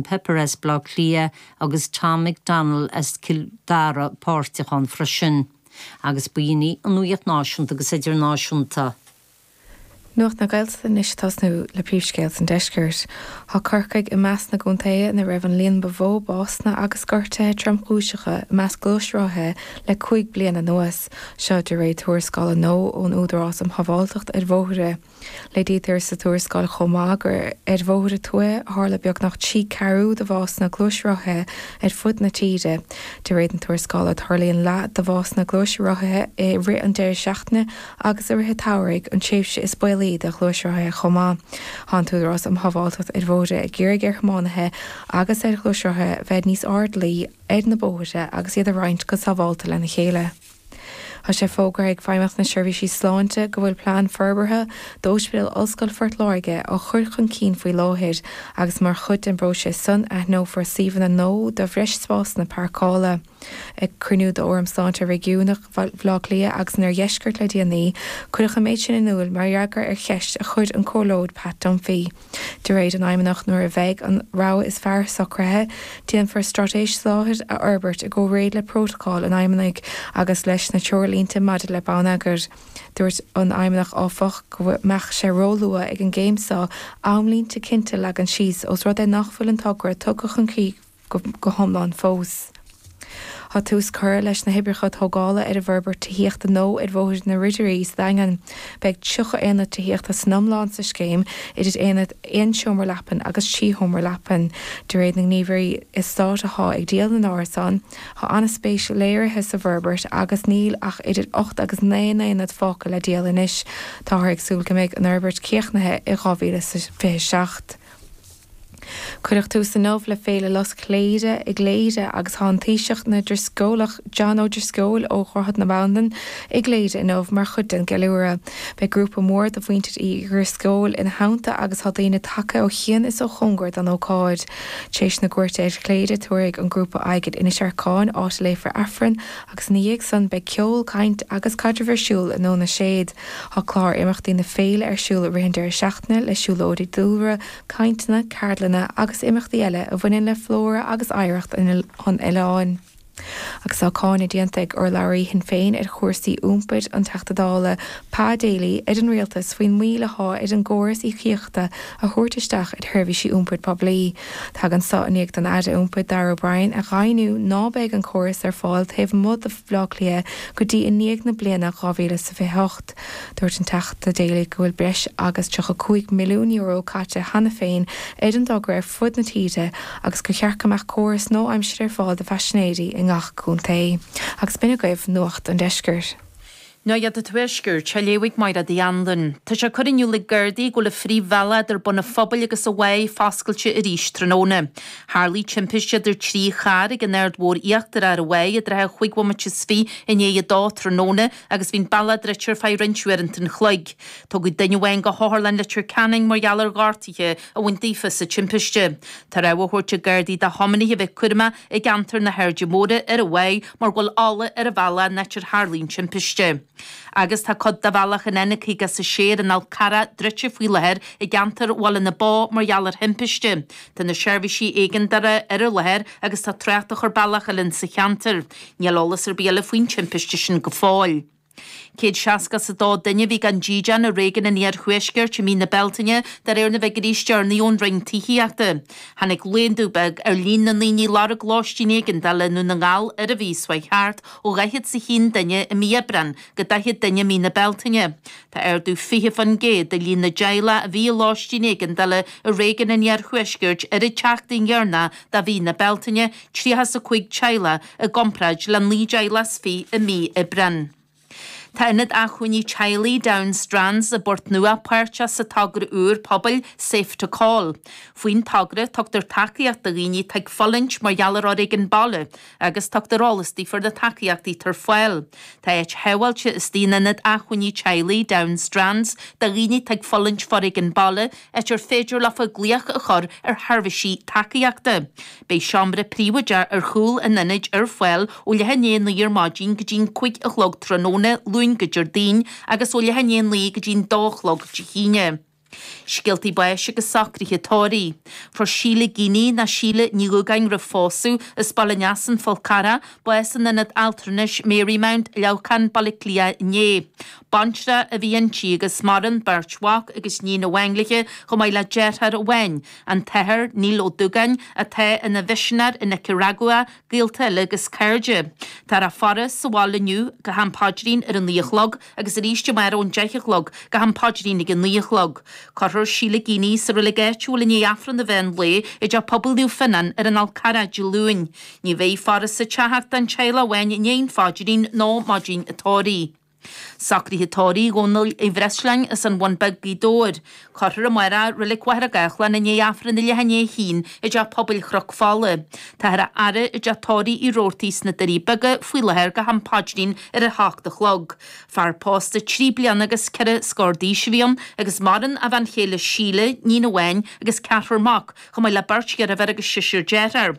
Pepper as Baile Átha Cliath agus Tom McDonnell as Cill Dara páirteach ann freisin. Agus b'in í an nuacht náisiúnta agus idirnáisiúnta. Nuacht na Gaeltachta anois ag tosnú le príomhscéalta an deiscirt. Tá Corcaigh i measc na gcontaetha ina raibh an líon ba mhó básanna agus gortuithe tromchúiseacha i measc gluaisrothaithe le 5 bliana anuas. Seo de réir tuarascála nua ón Údarás um Shábháilteacht ar Bhóithre. Léirítear sa tuarascáil chomh maith gur ar bhóithre tuaithe a tharla beagnach 3 ceathrú de bhásanna gluaisrothaithe ar fud na tíre. De réir na tuarascála, tarlaíonn leath de bhásanna gluaisrothaithe i rith an deireadh seachtaine agus i rith an tsamhraidh, an tréimhse is baolaí do ghluaisrothaithe chomh maith. Tá an tÚdarás um Shábháilteacht ar Bhóithre ag iarraidh ar thiománaithe agus ar ghluaisrothaithe bheith níos airdeallaí ar na bóithre agus iad a roinnt go sábháilte lena chéile. Tá sé fógartha ag Feidhmeannacht na Seirbhísí Sláinte go bhfuil plean forbartha d'Ospidéal Ollscoile Phort Láirge á chur chun cinn faoi láthair agus mar chuid den bpróiseas san aithneofar suíomhanna nua do bhreis spásanna páirceála. Ag cruinniú d'Fhóram Sláinte Réigiúnach Bhaile Átha Cliath agus an Oirdheiscirt le déanaí, cuireadh an méid sin in iúl mar fhreagra ar cheist a chuir an Comhairleoir Pat Dunphy. De réir an Fheidhmeannach, nuair a bheidh an rogha is fearr socraithe, déanfar straitéis soláthair a fhorbairt i gcomhréir le prótacal an Fheidhmeannaigh agus leis na treoirlínte maidir le bonneagar. Dúirt an Feidhmeannach, áfach, go mbeadh sé róluath ag an gcéim seo amlínte cinnte a leagan síos ós rud é nach bhfuil an togra tugtha chun críche go hiomlán fós. Tá tús curtha leis na hoibreacha tógála ar an bhforbairt tithíochta nua ar Bhóthar na Ridirí sa Daingean. Beidh 30 aonad tithíochta san iomlán sa scéim, idir aonaid aon seomra leapan agus 3 sheomra leapan. De réir na ngníomhairí eastáit atá ag díol na n-árasán, tá an-spéis léirithe sa bhforbairt agus níl ach idir 8 agus 9 n-aonad fágtha le díol anois. Táthar ag súil go mbeidh an fhorbairt críochnaithe i 2027. Cuireadh tús inniu le Féile Lus Chléire i gCléire agus tá an Taoiseach na nDrisceolach John Ó Drisceoil ó Dhroichead na Bandan i gCléire inniu mar chuid den gceiliúradh. Beidh grúpa mór de mhuintir Uí Dhrisceoil ina theannta agus tá daoine tagtha ó chian is ó chóngar don ócáid. Tar éis na cuairte ar Chléire tabharfaidh an grúpa aghaidh ar Inis Arcáin áit a léifear Aifreann agus ina dhiaidh san beidh ceol, caint agus caidreamh ar siúl i nDún na Séad. Tá clár imeachtaí na féile ar siúl i rith an deireadh seachtaine le siúlóidí dúlra, cainteanna, ceardlanna agus imeachtaí eile a bhaineann le flóra agus oidhreacht an oileáin. Agus tá cáineadh déanta ag urlabhraí Shinn Féin ar chúrsaí iompair, an Teachta Dála Pa Daly, ar an Rialtas faoin moill athá ar an gcóras íocaíochta a thabhairt isteach ar sheirbhísí iompair poiblí. Tagann so i ndiaidh don Aire Iompair Darragh O'Brien a dheimhniú ná beidh an córas ar fáil taobh amuigh de Bhaile Átha Cliath go dtí i ndiaidh na bliana 2028. Dúirt an Teachta Daly go bhfuil breis agus €35 milliún caite cheana féin ar an dtogra ar fud na tíre agus gur cheart go mbeadh córas nua-aimseartha ar fáil do phaisinéirí i ngach contae. Agus b'in agaibh Nuacht an Deiscirt. Nuacht an Tuaiscirt, á léamh ag Máire Uí Anluain. Tá sé curtha in iúl ag Gardaí go bhfuil an phríomhbhealach idir Bun an Phobail agus an Mhaigh foscailte arís tráthnóna. Tharlaigh timpiste idir 3 charr ag an Aird Mhór Íochtarach ar an Mhaigh i dtrátha chúig bhomaite is fiche i ndiaidh a dó tráthnóna agus bhí an bealach druidte ar feadh roinnt uaireanta an chloig. Tugadh duine amháin go hOtharlann Leitir Ceanainn mar gheall ar ghortuithe a bhain daofa sa timpiste. Tá rabhadh á thabhairt ag Gardaí do thiománaithe a bheith cúramach i gceantar na hAirde Móire ar an Mhaigh mar go bhfuil ola ar an bhealach in áit ar tharlaigh an timpiste. Agus tá cuid de bhealach an N56 ar an Fhál Carrach druidte faoi láthair i gceantar Bhaile na Bó mar gheall ar thimpiste. Tá na seirbhísí éigeandála ar an láthair agus tá trácht á chur bealach eile sa cheantar. Níl eolas ar bith eile faoin timpiste sin go fóill. 162 duine a bhí gan dídean i réigiún an Iarthuaiscirt i mí na Bealtaine, de réir na bhfigiúirí is deireanaí ón Roinn Tithíochta. Tháinig laghdú beag ar líon na ndaoine ag lorg lóistín éigeandála i nDún na nGall ar an mhí seo chuaigh thart, ó 41 duine i mí Aibreáin go 40 duine i mí na Bealtaine. Tá ardú 20% i líon na dteaghlach a bhí i lóistín éigeandála i réigiún an Iarthuaiscirt ar an tseachtain dheireanach de mhí na Bealtaine, 35 teaghlach i gcomparáid le 19 dteaghlach i mí Aibreáin. Tá Ionad Acmhainní Teaghlaigh Down Strands i bPort Nua páirteach sa togra úr pobail Safe to Call. Faoin togra, tugtar tacaíocht do dhaoine atá ag fulaingt mar gheall ar fhoréigean baile agus tugtar eolas daofa ar na tacaíochtaí atá ar fáil. Tá áit shábháilte istigh in Ionad Acmhainní Teaghlaigh Down Strands do dhaoine atá ag fulaingt foréigean baile, áit ar féidir leofa glaoch a chur ar sheirbhísí tacaíochta. Beidh seomra príobháideach ar chúl an ionaid ar fáil ó leath i ndiaidh a 9 ar maidin go dtí'n 5 a chlog tráthnóna, Luan go Déardaoin, agus ó leath i ndiaidh a 9 go dtí'n 2 a chlog Dé hAoine. Scéaltaí báis agus socruithe tórraimh. Fuair Síle Geaney, nó Síle Ní Dhúgáin roimh phósadh, as Baile an Easa, An Fál Carrach, bás in Ionad Altranais Marymount, Leamhcán, Baile Átha Cliath inné. Baintreach a bhí inti agus maireann beirt mhac agus níon amháin léi chomh maith le deartháir amháin, an tAthair Neil Ó Dúgáin, atá ina mhisinéir i Nicearagua, gaolta eile agus cairde. Táthar á faire sa bhaile inniu go ham paidrín ar a 9 a chlog agus arís amárach ón 10 a chlog go ham paidrín ag a 9 a chlog. Cuirfear Síle Geaney sa reilig áitiúil i ndiaidh Aifreann an mheán lae i dTeach Pobail Naomh Fionnán ar an Fhál Carrach Dé Luain. Ní bheidh faire sa teach ach don teaghlach amháin i ndiaidh an phaidrín nó maidin an tórraimh. Socruithe tórraimh Dhónaill Uí Bhreisleáin as an Bhun Beag, Gaoth Dobhair. Cuirfear amárach i Reilig Mhachaire Gathlán i ndiaidh Aifreann a leath i ndiaidh a haon i dTeach Pobail Chnoc Fola. Táthar á fhaire i dteach tórraimh Uí Robhartaigh sna Doirí Beaga faoi láthair go ham paidrín ar a hocht a chlog. Fear pósta 3 bliana agus ceithre scór d'aois a bhí ann agus maireann a bhean chéile Síle, níon amháin agus ceathrar mac, chomh maith le beirt dheirféar agus seisear dearthár.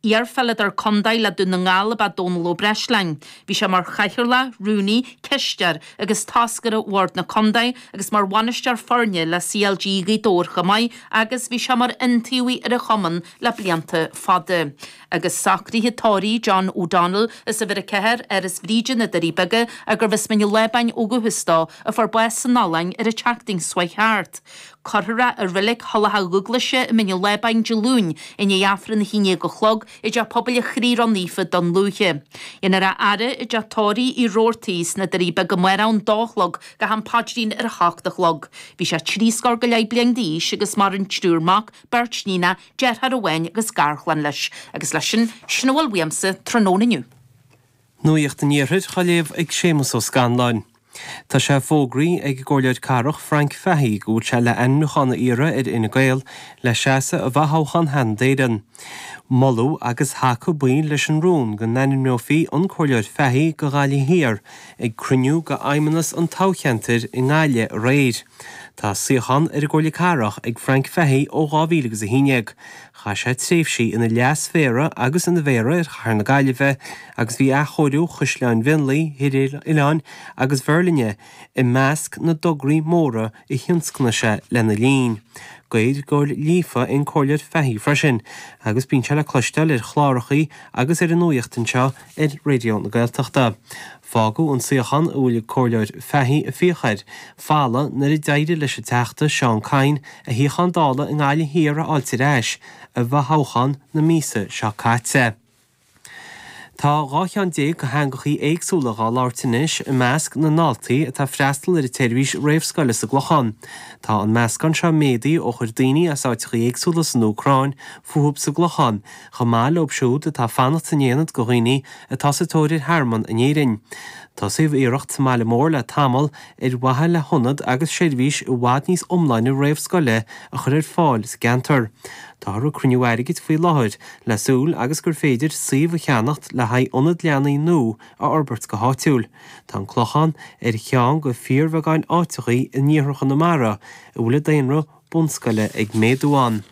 Iar-pheileadóir contae le Dún na nGall ab ea Dónal Ó Breisleáin. Bhí sé mar chathaoirleach, rúnaí, cisteoir agus toscaire Bhord na Contae agus mar bhainisteoir foirne le CLG Ghaoth Dobhair chomh maith agus bhí sé mar iontaobhaí ar an chumann le blianta fada. Agus socruithe tórraimh John O'Donnell as uimhir 4, Áras Bhríde, Na Doirí Beaga, gurbh as Mín an Lábáin ó dhúchas dó, a fuair bás san Ollainn ar an tseachtain seo chuaigh thart. Cuirfear é i Reilig Thulach Dhúglaise i Mín an Lábáin Dé Luain i ndiaidh Aifreann a 11 a chlog i dTeach Pobail an Chroí Ró-Naofa, Dún Lúiche. Dhéanfar a fhaire i dteach tórraimh Uí Robhartaigh sna Doirí Beaga amárach ón dó a chlog go ham paidrín ar a hocht a chlog. Bhí sé trí scór go leith bliain d'aois agus maireann triúr mac, beirt níonach, deartháir amháin agus garchlann leis. Agus leis sin, sin a bhfuil uaimse tráthnóna inniu. Nuacht an Iarthair á léamh ag Séamus Ó Scanláin. Tá sé fógraithe ag an gComhairleoir Cathrach Frank Fahey go bhfuil sé le ainmniúchán a iarraidh ar Fhine Gael le seasamh i bhfothoghchán Sheanad Éireann. Moladh agus thacaigh baill leis an rún go n-ainmneofaí an Comhairleoir Fahey go Ghaillimh Thiar ag cruinniú de fheidhmeannas an toghcheantair i nGaillimh aréir. Tá suíochán ar an gComhairle Cathrach ag Frank Fahey ó 2011. Chaith sé tréimhsí ina leas-mhéara agus ina mhéara ar chathair na Gaillimhe agus bhí athchóiriú Chaisleáin Mhionlaigh, Thír Oileáin agus Mheirlinne i measc na dtograí móra a thionscnaigh sé lena linn. Gaeilgeoir líofa é an Comhairleoir Fahey freisin agus bíonn sé le cloisteáil ar chlárachaí agus ar an nuaíocht anseo ar Raidió na Gaeltachta. Fágadh an suíochán a bhfuil an Comhairleoir Fahey ag fiach air folamh nuair a d'éirigh leis an Teachta Seán Kyne a shuíochán Dála i nGaillimh Thiar a fháilt ar ais i bhfothoghchán na míosa seo caite. Tá 12 cheann de theangachaí éagsúla dhá labhairt anois i measc na ndaltaí atá ag freastal ar an tseirbhís réamhscoile sa gClochán. Tá an meascán seo méadaithe ó chuir daoine as áiteachaí éagsúla san Úcráin fúthub sa gClochán, chomh maith leob siúd atá ag fanacht san aonad go dhaoine atá sa tóir ar thearmann in Éirinn. Tosaíodh iarracht sa mbaile mór le tamall ar mhaithe le hionad agus seirbhís i bhfad níos iomláine réamhscoile a chur ar fáil sa gceantar. Táthar ag cruinniú airgid faoi láthair le súil agus gur féidir suíomh a cheannacht le haghaidh ionad leanaí nua a fhorbairt go háitiúil. Tá an Clochán ar cheann de fíorbheagáin áiteachaí in iarthar Chonamara a bhfuil an daonra bunscoile ag méadú ann.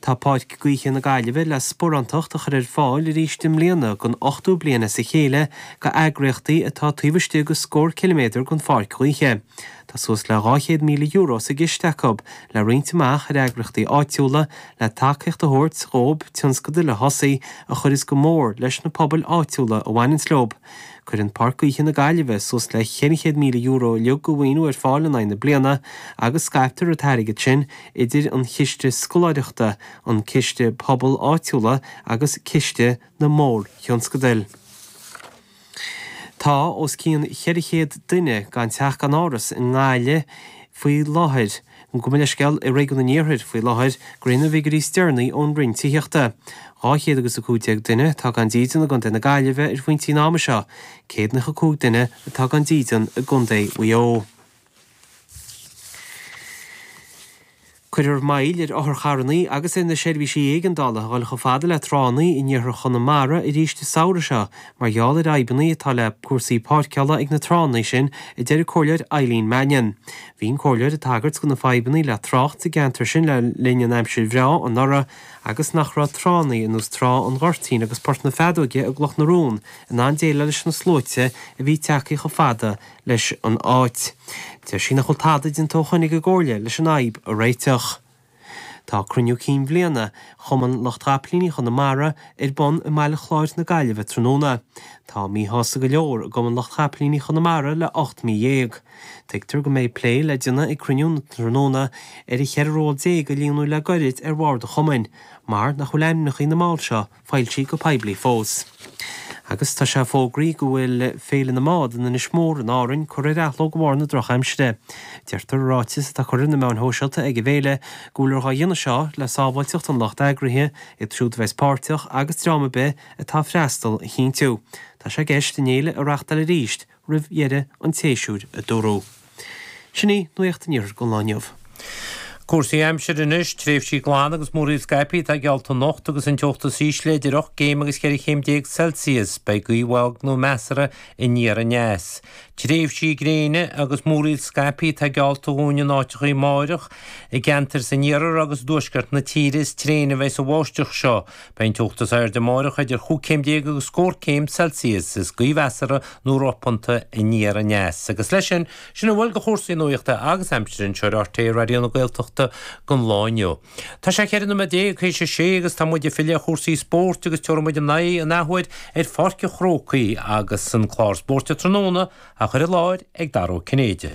Tá Páirc Gaoithe na Gaillimhe le sparántacht a chur ar fáil arís i mbliana don ochtú bliain as a chéile go eagraíochtaí atá taobh istigh de scór ciliméadar den pháirc ghaoithe. Tá suas le €200,000 sa gciste acu le roinnt amach ar eagraíochtaí áitiúla le tacaíocht a thabhairt dhóib tionscadail a thosaí a chuireas go mór leis na pobail áitiúla a bhaineanns leob. Cuireann Páirc Gaoithe na Gaillimhe suas le €400,000 uilig de mhaoiniú ar fáil in aghaidh na bliana agus scaiptear an t-airgead sin idir an Chiste Scoláireachta, an Ciste Pobail Áitiúla agus Ciste na Mórthionscadail. Tá os cionn 400 duine gan teach gan áras i nGaillimh faoi láthair. Gabh mo leithscéal, i Réigiún an Iarthair faoi láthair, de réir na bhfigiúirí is deireanaí ón Roinn Tithíochta. 215 duine atá gan dídean i gContae na Gaillimhe ar phointí an ama seo, 195 duine atá gan dídean i gContae Mhaigh Eo. Cuirfear moill ar otharcharrannaí agus ar na seirbhísí éigeandála a dhul chomh fada le tránnaí in iarthar Chonamara arís an samhradh seo mar gheall ar fhadhbannaí atá le cúrsaí páirceála ag na tránnaí sin, a deir an Comhairleoir Eileen Mannion. Bhí an Comhairleoir ag tagairt do na fadhbannaí le trácht sa gceantar sin le linn an aimsir bhreá anuraidh agus nach raibh tránnaí ar nós Trá an Ghoirtín agus Port na Feadóige i gCloch na Rón in ann déileáil leis na sluaite a bhí tagtha chomh fada leis an áit. Deir sí nach bhfuil tada déanta ó shoin ag an gComhairle leis an fhadhb a réiteach. Tá cruinniú cinn bhliana Chumann Lucht Chapaillíní Chonamara ar bun i mBaile Chláir na Gaillimhe tráthnóna. Tá míshásta go leor i gCumann Lucht Chapaillíní Chonamara le 18 mí. Tuigtear go mbeidh plé le déanamh ag cruinniú na tráthnóna ar an 14 ról a líonadh le goirid ar bhord an chumainn, mar nach bhfuil ainmneacha na mball seo foilsithe go poiblí fós. Agus tá sé fógraithe go bhfuil Féile na mBád in Inis Mór in Árainn curtha ar athló de bharr na drochaimsire. Deirtear i ráiteas atá curtha ar na meáin shóisialta ag an bhféile go bhfuiltear dhá dhéanamh seo le sábháilteacht an lucht eagraithe, iad siúd a bheas páirteach agus dream ar bith atá ag freastal a chinntiú. Tá sé i gceist an fhéile a reachtáil arís roimh dheireadh an tséasúir, a dúradh. Sin í Nuacht an Iarthair don lá inniu. Cúrsaí aimsire anois, tréimhsí glana agus múraíl scaipthe atá geallta anocht agus an teocht is ísle idir 8 gcéim agus 14 chéim Celsius. Beidh gaoth bhog nó measartha aniar aneas. Tréimhsí gréine agus múraíl scaipthe atá geallta dhúinn in áiteachaí amáireach. I gceantair san iarthar agus i dtuaisceart na tíre is tréine a bheidh sa bháisteach seo. Beidh an teocht is airde amáireach idir chúig chéim déag agus scór céim Celsius is gaoth mheasartha nó ropanta aniar aneas. Agus leis sin, sin a bhfuil de chúrsaí nuachta agus aimsire anseo ar RTÉ Raidió na Gaeltachta don lá inniu. Tá sé 14 nóiméad théis a sé agus tá muid ag filleadh ar chúrsaí spóirt agus tabharfaidh muid ár n-aghaidh an athuair ar Pháirc an Chrócaigh agus an clár spóirt tráthnóna á chur i láthair ag Dara Ó Cinnéide.